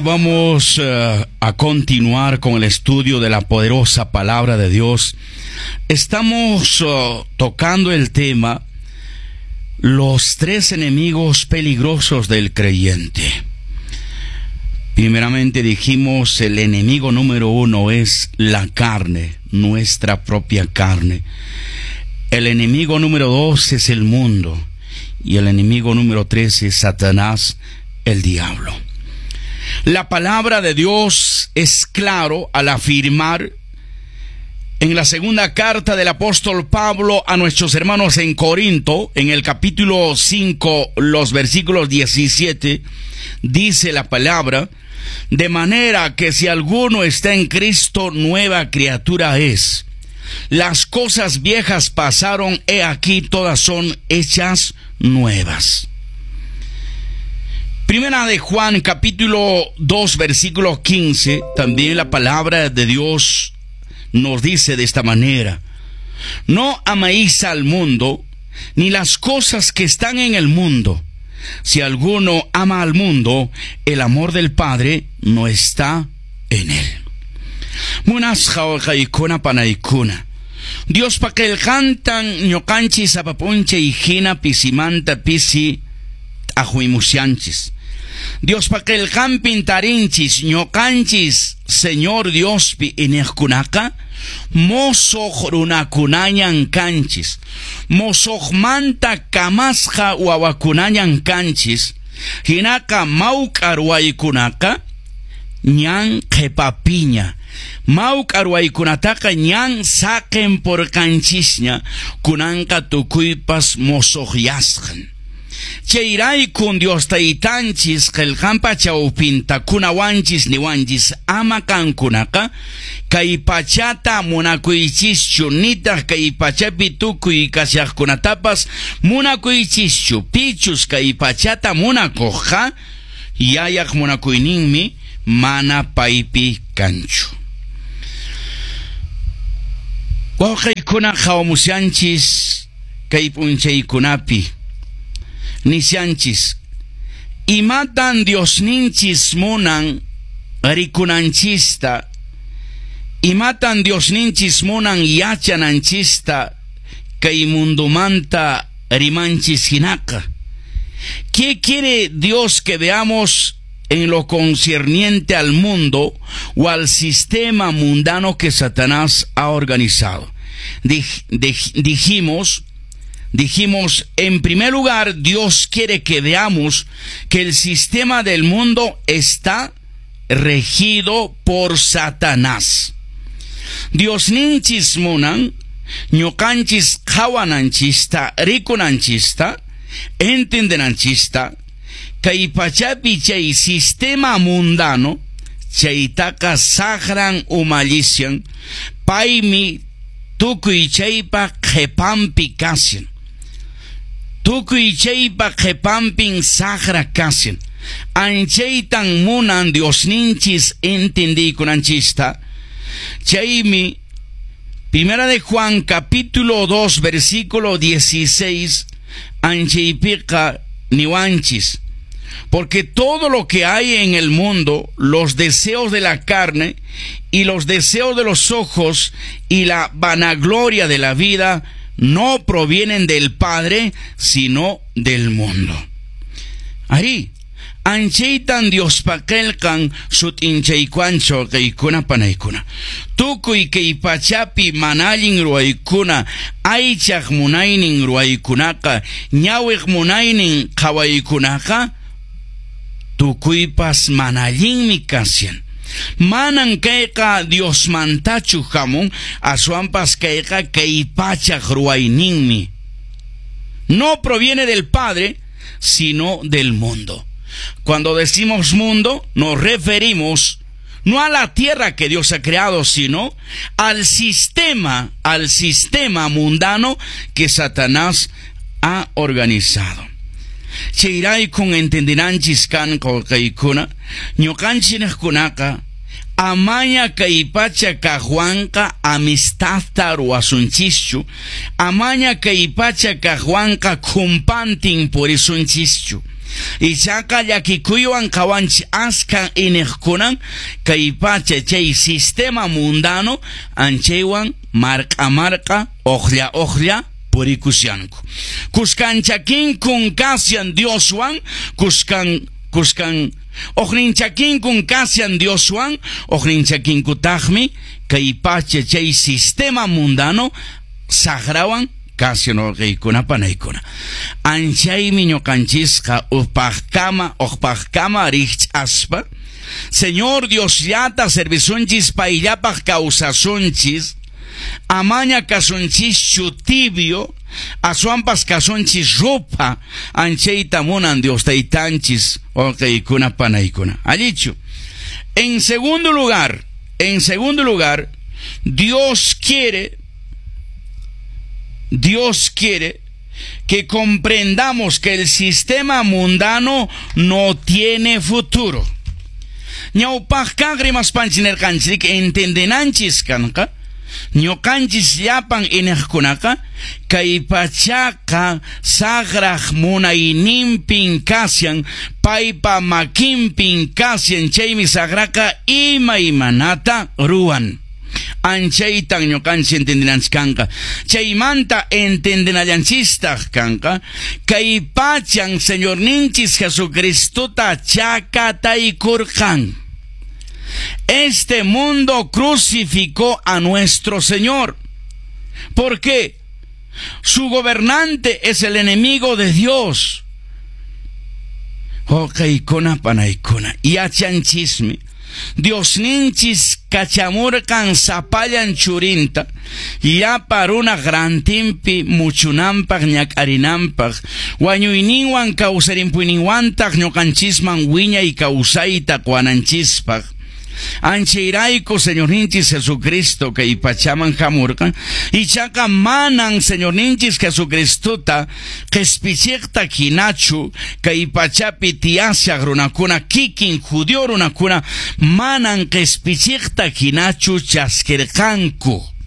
Vamos a continuar con el estudio de la poderosa palabra de Dios. Estamos tocando el tema los tres enemigos peligrosos del creyente. Primeramente dijimos, el enemigo número uno es la carne, nuestra propia carne. El enemigo número dos es el mundo. Y el enemigo número tres es Satanás, el diablo. La palabra de Dios es claro al afirmar en la segunda carta del apóstol Pablo a nuestros hermanos en Corinto, en el capítulo 5, los versículos 17, dice la palabra: de manera que si alguno está en Cristo, nueva criatura es. Las cosas viejas pasaron, he aquí todas son hechas nuevas. Primera de Juan, capítulo 2, versículo 15, también la palabra de Dios nos dice de esta manera: no améis al mundo, ni las cosas que están en el mundo. Si alguno ama al mundo, el amor del Padre no está en él. Munasqa wawqiykuna panaykuna, Diospa qillqantan ñuqanchis sapa p'unchay hina pisimanta pisi t'aqwimushanchis. Diospa qillqanpin tarinchis ñuqanchis Señor Diospi iñiqkunaqa mosoq runakunañan kanchis, mosoqmanta kamasqa wawakunañan kanchis, hinaqa mawk'a ruwaykunaqa ñan qhipapiña, mawk'a ruwaykunataqa ñan saqinpurqanchisña, kunanqa tukuypas mosoqyasqan. Chayraykun Dios taytanchis qillqanpa chawpinta kunawanchis niwanchis ama qankunaqa kay pachata munakuychischu, nitaq kay pachapi tukuy kashaqkunatapas munakuychischu. Pichus kay pachata munakuqqa yayaq munakuyninmi mana paypi kanchu. Wawqiykuna qhawamushanchis kay p'unchaykunapi, nishanchis, imatan Diosninchis munan rikunanchista, imatan Diosninchis munan yachananchista kay mundomanta rimanchis hinaqa. ¿Qué quiere Dios que veamos en lo concerniente al mundo o al sistema mundano que Satanás ha organizado? Dijimos, en primer lugar, Dios quiere que veamos que el sistema del mundo está regido por Satanás. Diosninchis munan, ñuqanchis qhawananchista, rikunanchista, entendenanchista, kay pachapi chay sistema mundano, chaytaqa saqran umallishan, paymi tukuy chaypa qhipanpi kashan. Tukuy chaypa qhipanpin saqra kashan. Anchaytan munan Diosninchis entendiykunanchista. Chaymi Primera de Juan capítulo 2 versículo 16 anchaypiqa niwanchis: porque todo lo que hay en el mundo, los deseos de la carne y los deseos de los ojos y la vanagloria de la vida, no provienen del Padre, sino del mundo. Arí, anchaytan Diospa qillqan sut'inchaykuwanchis wawqiykuna panaykuna. Tukuy kay pachapi mana allin ruwaykuna, aychaq munaynin ruwaykunaqa, ñawiq munaynin qhawaykunaqa, tukuypas mana allinmi kashan. Manan kayqa Diosmantachu hamun, aswanpas kayqa kay pachaq ruwayninmi. No proviene del Padre, sino del mundo. Cuando decimos mundo, nos referimos no a la tierra que Dios ha creado, sino al sistema mundano que Satanás ha organizado. Chayraykun entendenanchis kan wawqiykuna, ñuqanchikkunaqa amaña kay pacha kaqwanqa amistadta ruwasunchischu, amaña kay pacha kaqwanqa khumpantin purisunchischu. Ichaqa llakikuywan qawanchik askha iniqkunan kay pacha chay sistema mundano anchaywan marq'a marq'a uqlla uqlla purikushanku. Kuskan chakinkun kashan Dioswan, kuskan kuskan uqnin chakinkun kashan Dioswan, uqnin chakinkutaqmi kay pacha chay sistema mundano saqrawan kashan wawqiykuna panaykuna. Anchaymi ñuqanchisqa upaqkama uqpaqkama rikch'aspa Señor Diosllata servisunchis payllapaq kawsasunchis, amaña kasunchischu tibio, aswanpas kasunchis rupha, anchayta munan Dios taytanchis wawqiykuna panaykuna. Allichu. En segundo lugar, Dios quiere que comprendamos que el sistema mundano no tiene futuro. Ñawpaqkaq rimaspanchis nirqanchik entendenanchis kanqa ñuqanchis llapan iniqkunaqa kay pachaqa saqraq munayninpin kashan paypa makinpin kashan chaymi saqraqa imaymanata ruwan. Anchaytan ñuqanchis entendenanchis kanqa. Chaymanta entendenallanchistaq kanqa kay pachan Señorninchis Jesucristota chakataykurqan. Este mundo crucificó a nuestro Señor. ¿Por qué? Su gobernante es el enemigo de Dios. Wawqiykuna panaykuna, yachanchismi Diosninchis kachamurqan sapallan churinta llapa runaq rantinpi muchunanpaq ñak'arinanpaq wañuyninwan kawsarimpuyninwantaq ñuqanchisman wiñay kawsayta quwananchispaq. Anchayrayku Señorninchis Jesucristo kay pachaman hamurqan ichaqa manan Señorninchis Jesucristota qispichiqta hinachu kay pachapi tiyashaq runakuna kikin judío runakuna manan qispichiqta hinachu chaskirqanku.